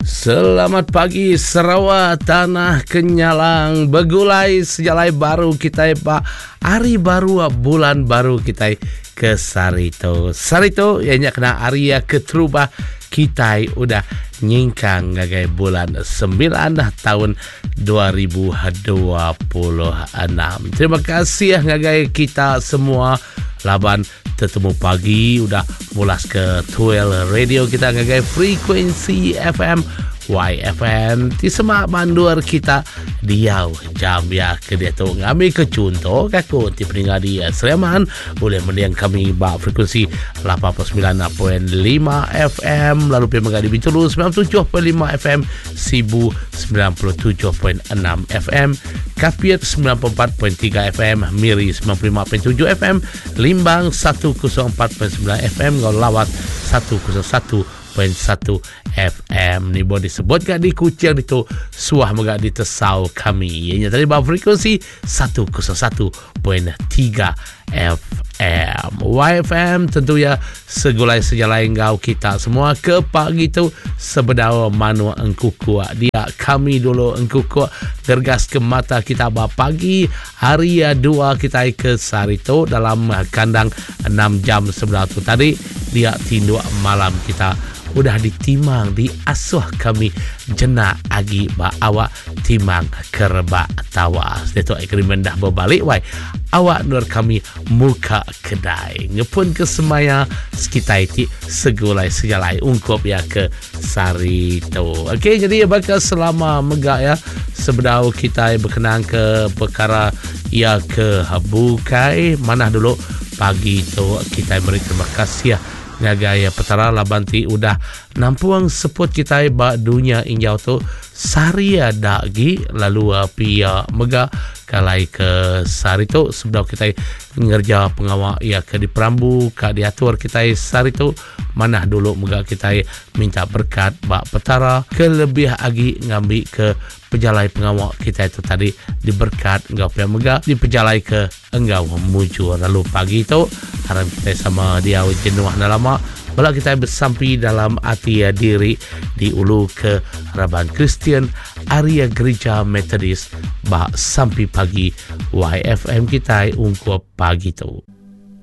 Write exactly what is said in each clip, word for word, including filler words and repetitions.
Selamat pagi Sarawak, Tanah Kenyalang. Begulai sejalai baru kitai ba hari baru, bulan baru kitai ke sehari tu. Sehari tu iya nya kena hari keterubah kitai udah nyingkang ngagai bulan sembilan taun dua ribu dua puluh enam. Terima kasih ngagai kita semua laban tetemu pagi udah mulas ke Tuel Radio kita ngagai frekuensi F M Y F M ti semak bandur kita diau jam ya ke dia tu. Ngambil ke contoh aku ti peninggal di Sleman boleh mendiang kami ba frekuensi lapan puluh sembilan point lima F M, lalu pergi menggadi Bintulu sembilan puluh tujuh point lima F M, Sibu sembilan puluh tujuh point enam F M, Kapit sembilan puluh empat point tiga F M, Miri sembilan puluh lima point tujuh F M, Limbang satu kosong empat point sembilan F M, ngau Lawat satu kosong satu point satu F M. Ni boleh disebut gak di Kuching itu suah megak ditesau kami. Ianya tadi bawah frekuensi satu kosong satu point tiga F M. Y F M tentu ya segulai sejalai ngau kita semua ke pagi tu sebedau manu engkukuk. Dia kami dulu engkukuk gergas ke mata kita ba pagi hari dua kita ke sehari tu dalam kandang enam jam sebelah tu tadi. Dia tinduk malam kita udah ditimang diasuh kami jenak agi ba awak timang kerebak tawas. Dia tu agreement dah berbalik wai. Awak nur kami muka kedai. Ngepun ke semaya sekitar ti segulai sejalai ungkup ya ke sari tu. Okey, jadi bakal selama megak ya sebedau kita berkenaan ke perkara ya ke bukai manah dulu pagi tu kita beri terima kasih ngagai petara laban ti udah nampuang seput kita ba dunia injau tu sari ada gi lalu pia mega kalai ke sari tu sebedau kita ngerja pengawak ia ke diperambu ka diatur kita sari tu manah dulu mega kita minta berkat ba petara ke lebih agi ngambi ke pejalai pengawak kita itu tadi diberkat enggau pia mega dipejalai ke enggau mujur. Lalu pagi tu harap kita sama dia jenuh dah lama bala kita bersampi dalam ati diri di ulu ke Raban Kristian area Gereja Methodist ba sampi pagi Y F M kita ungkup pagi tu.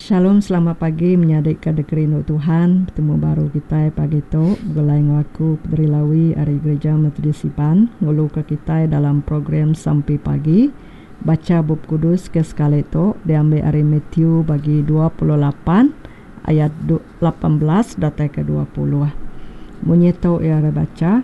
Shalom, selamat pagi menyadik ke dikerindu Tuhan. Bertemu baru kita pagi tu begulai ngau aku Pedri Lawi ari Gereja Methodist Iban ngulu ke kita dalam program Sampi Pagi. Baca Bup Kudus ke sekali tu diambil ari Matthew bagi dua puluh lapan ayat lapan belas datai ke dua puluh. Munyi tu ia baca,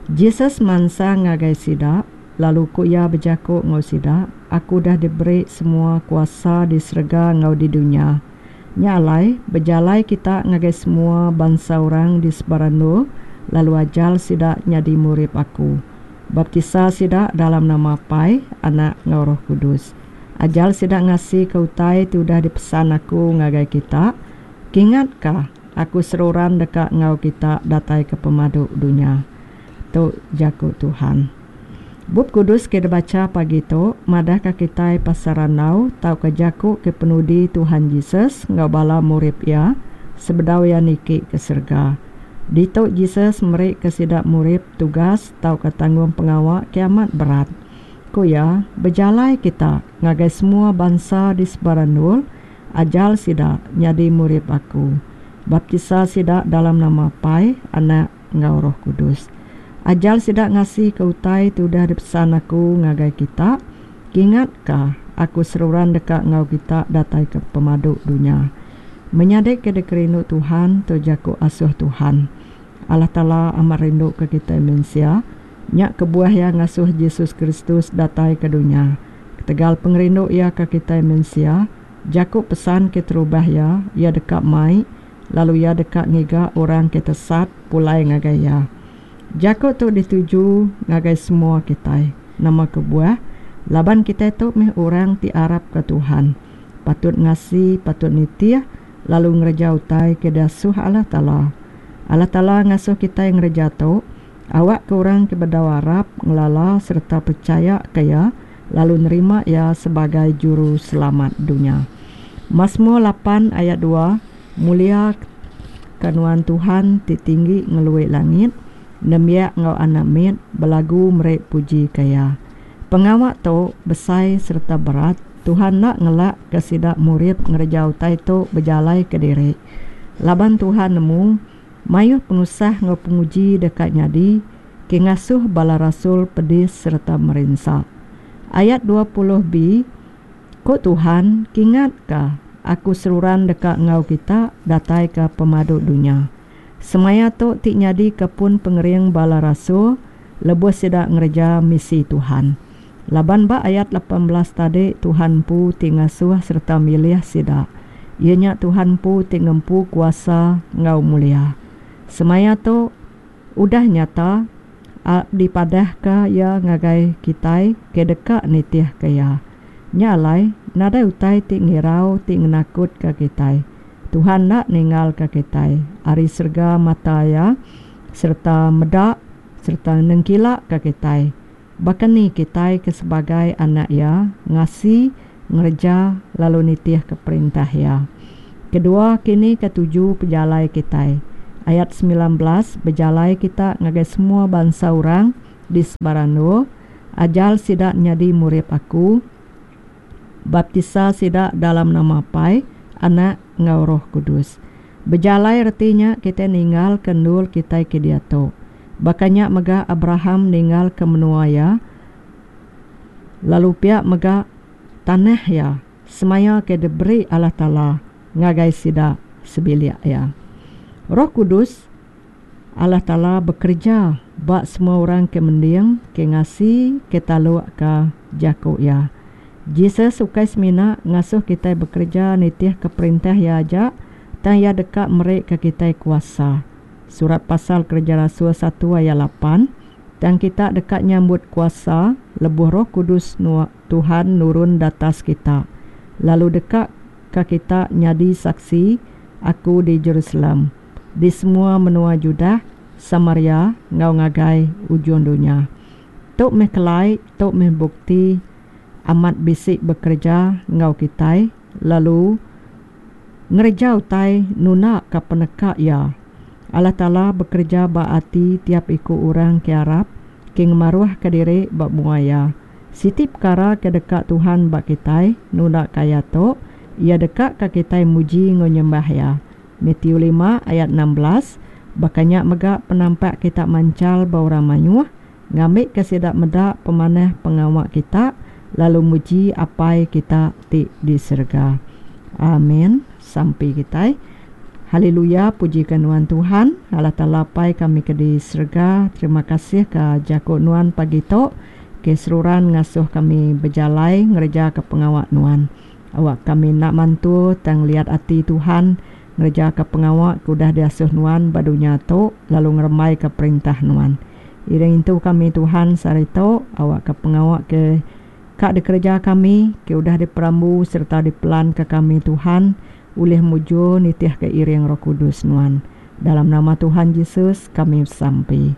Jesus mansa ngagai sida, lalu ku ia berjakuk ngau sida, aku dah diberi semua kuasa di serega ngau di dunia. Nya alai, berjalai kita ngagai semua bangsa orang di sebarang lalu ajal sida nyadi murid aku. Baptisa sida dalam nama Pai, Anak ngau Roh Kudus. Ajal sida ngasi ke utai ti udah dipesan aku ngagai kita. Kingatkah aku seruran dekat ngau kita datai ke pemadu dunia. Tu jaku Tuhan. Bup Kudus kita baca pagi tu, madah ka kitai pasaranau tau ke jaku ke penudi Tuhan Jesus ngau bala murid ia sebedau ia niki ke serega. Ditu Jesus meri ke sida murid tugas tau ke tanggung pengawak kiamat berat. Ku ia, berjalai kita ngagai semua bangsa di sebarang ajal sida nyadi murid aku. Baptisa sida dalam nama Pai, Anak ngau Roh Kudus. Ajal sida ngasi ke utai tu udah dipesan aku ngagai kita. Kingatkah aku seruran dekat ngau kita datai ke pemadu dunia. Menyadik ke dikerindu Tuhan tu jaku asuh Tuhan. Allah Ta'ala amat rindu ke kita manusia. Nyak kebuah yang ngasuh Yesus Kristus datai ke dunia. Ketegal pengerindu ia ke kita manusia, jaku pesan ke terubah ia, ia dekat mai, lalu ia dekat ngiga orang ke tesat pulai ngagai ia. Jaku tu dituju ngagai semua kita. Nama kebuah, laban kita tu meh orang ti arap ke Tuhan. Patut ngasi, patut nitiah, lalu ngereja utai ke dasuh Allah Ta'ala. Allah Ta'ala ngasuh kita yang ngereja tu, awak ke orang ke bedau Arab ngelala serta percaya ke ia, lalu nerima ia sebagai juru selamat dunia. Mazmur lapan ayat dua, mulia kanuan Tuhan ti tinggi ngeluik langit, Nembiak enggau anak mit belagu meri puji ke iya. Pengawa tu besai sereta berat. Tuhan enda ngelakka sida murid ngereja utai tu bejalai kediri. Laban Tuhan nemu mayuh penusah enggau penguji deka nyadi ke ngasuh bala rasul pedis sereta merinsa. Ayat dua puluh B, Ku Tuhan, Kingatka, aku seruran deka enggau kita datai ke pemadu dunya. Semaya tu ti nyadika pun pengering bala rasul lebuh sida ngereja misi Tuhan. Laban ba ayat lapan belas tadi Tuhan empu ti ngasuh sereta milih sida. Iya nya Tuhan empu ti ngempu kuasa enggau mulia. Semaya tu udah nyata dipadahka iya ngagai kitai ke deka nitihka iya. Nya alai nadai utai ti ngirau ti ngenakutka kitai. Tuhan enda ninggalka kitai ari serega mata iya sereta meda sereta nengkilaka kitai. Baka ni kitai ke sebagai anak iya ngasi, ngereja lalu nitihka perintah iya. Kedua, kini ke tuju pejalai kitai. Ayat semilan belas, bejalai kita ngagai semua bansa orang di sebarang endur, ajal sida nyadi murid aku, baptisa sida dalam nama Apai, Anak enggau Roh Kudus. Bejalai reti nya kitai ninggalka endur kitai ke diatu. Baka nya mega Abraham ninggalka menua iya, lalu pia mega tanah iya, semaya ke diberi Allah Taala ngagai sida sebilik iya. Roh Kudus Allah Taala bekereja ba semua orang ke mending, ke ngasi, ke taluk ke jaku iya. Jesus ukai semina ngasuh kitai bekereja nitih ke perintah iya aja, tang iya deka meri ke kitai kuasa. Surat pasal Kereja Rasul satu ayat lapan, tang kita deka nyambut kuasa lebuh Roh Kudus Tuhan nurun datas kita, lalu deka ke kita nyadi saksi aku di Jerusalem, di semua menua Judah, Samaria enggau ngagai ujung dunya. Tu meh kelai, tu meh bukti amat bisi bekereja enggau kitai, lalu ngereja utai nuna ke peneka iya. Allah Taala bekereja ba ati tiap iku orang ke arap, ke ngemaruh ke diri ba mua iya. Siti perkara ke deka Tuhan ba kitai nunda kaya tu, iya deka ke kitai muji enggau nyembah iya. Matthew lima ayat enam belas, bakanya mega penampak kita mancal ba orang mayuh, ngambi ke sida meda pemanah pengawa kita, lalu muji Apai kita ti di serega. Amin. Sampai kitai. Haleluya, pujikan nuan Tuhan, Allah Taala Apai kami ke di serega. Terima kasih ke jaku nuan pagi tu, ke seruran ngasuh kami bejalai ngereja ke pengawa nuan. Awak kami nak mantu tang liat ati Tuhan ngereja ke pengawa ke udah diasuh nuan ba dunya tu, lalu ngerembai ke perintah nuan. Iring intu kami Tuhan sehari tu, awak ke pengawa ke kak dikereja kami, ke udah diperambu serta dipelan ke kami Tuhan, ulih mujur nitih ke iring Roh Kudus nuan. Dalam nama Tuhan Yesus kami sampi.